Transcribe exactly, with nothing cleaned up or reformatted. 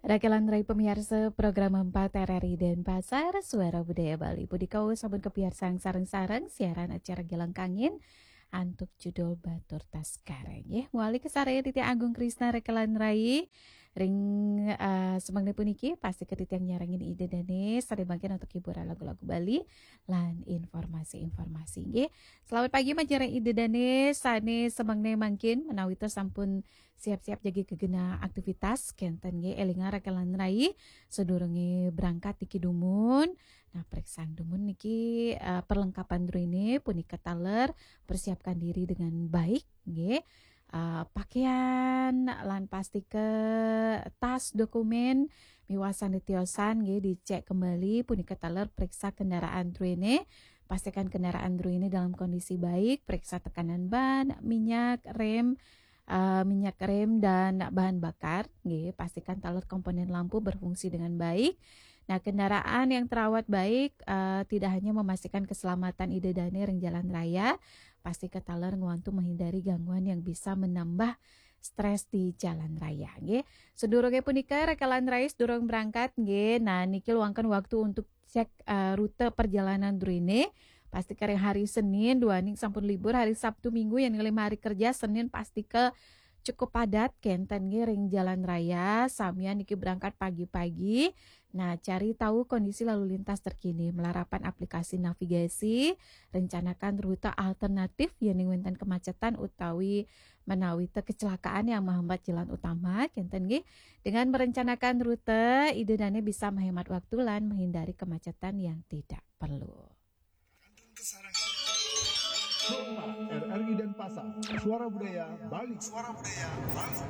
Rakelan rai pamiarsa program empat R R I Denpasar, Suara Budaya Bali. Punika sampun kapiarsang sareng-sareng siaran acara Gelangkangin antuk judul Batur Taskara. Nggih, mawali kasarengin titiang Agung Krisna rakelan rai. Ring, eh, semangna puniki, pastika titiang nyarengin Ida Dane, sare mangkin antuk hiburan lagu-lagu Bali lan informasi-informasi. Nggih, selamat pagi majeng Ida Dane, sane semangna mangkin menawi ta sampun siap-siap jagi gegena aktivitas, kenten nggih, elinga rakelan rai, sadurunge berangkat niki dumun. Nah, preksa dumun niki, eh, perlengkapan druene punika taler, persiapkan diri dengan baik, nggih. Eh, pakaian lan pastika tas, dokumen miwah sane tiosan nggih dicek kembali, punika taler preksa kendaraan druene, pastikan kendaraan druene dalam kondisi baik, periksa tekanan ban, minyak, rem, eh, minyak rem dan bahan bakar, nggih, pastikan taler komponen lampu berfungsi dengan baik. Nah, kendaraan yang terawat baik, eh, tidak hanya memastikan keselamatan Ida Dane ring jalan raya, pastika taler ngwantu menghindari gangguan yang bisa menambah stres di jalan raya, nggih. Sadurunge punika, rakelan rai sadurung berangkat, nggih. Nah, niki luangkan waktu untuk cek, eh, rute perjalanan druene. Pastika ring hari Senin, duaning sampun libur, hari Sabtu, Minggu, yen ngalih hari kerja, Senin pastika cukup padat, kenten nggih ring jalan raya, samian niki berangkat pagi-pagi. Nah, cari tahu kondisi lalu lintas terkini, malarapan aplikasi navigasi, rencanakan rute alternatif, yening wenten kemacetan utawi menawi ta kecelakaan yang menghambat jalan utama, kenten nggih. Dengan merencanakan rute, Ida Dane bisa menghemat waktu lan menghindari kemacetan yang tidak perlu. Kota R R I Denpasar, Suara Budaya Bali. Suara Budaya Bali.